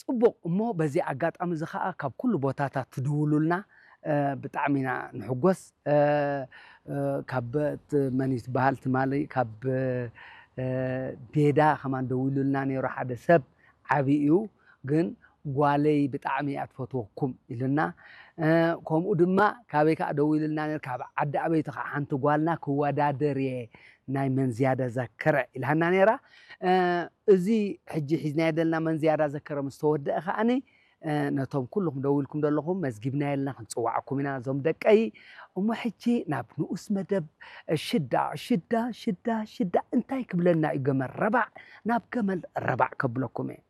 ጽቡቕ። እሞ በዚ ኣጋጣሚ እዚ ኸኣ ካብ ኩሉ ቦታታት ትድውሉልና፣ እ፣ ብጣዕሚ ኢና ንሕጎስ። እ፣ እ፣ ካብ ት-፣ መን እዩ ትበሃል ትማሊ ካብ፣ እ፣ ቤዳ ከማን ደዊሉልና ነይሩ ሓደ ሰብ፣ ዓቢ እዩ ግን ጓለይ ብጣዕሚ እያ ትፈትወኩም ኢሉና። እ፣ ከምኡ ድማ ካበይ ከኣ ደዊሉልና ነይሩ፣ ካብ ዓዲ ኣበይቲ ከኣ ሓንቲ ጓልና ክወዳደር እየ ናይ መን ዝያዳ ዘከረ ኢልሃና ነይራ። እ፣ እዚ ሕጂ ሒዝናዮ ዘለና መን ዝያዳ ዘከረ ምስ ተወደአ ከኣኒ፣ እ፣ ነቶም ኩልኹም ደዊልኩም ዘለኹም መዝጊብናዮ ኣለና፣ ክንጽውዓኩም ኢና እዞም ደቀይ። እሞ ሕጂ ናብ ንኡስ መደብ ሽዳ፣ ሽዳ፣ ሽዳ፣ ሽዳ እንታይ ክብለና እዩ ገመል ረባዕ? ናብ ገመል ረባዕ ከብለኩም እየ።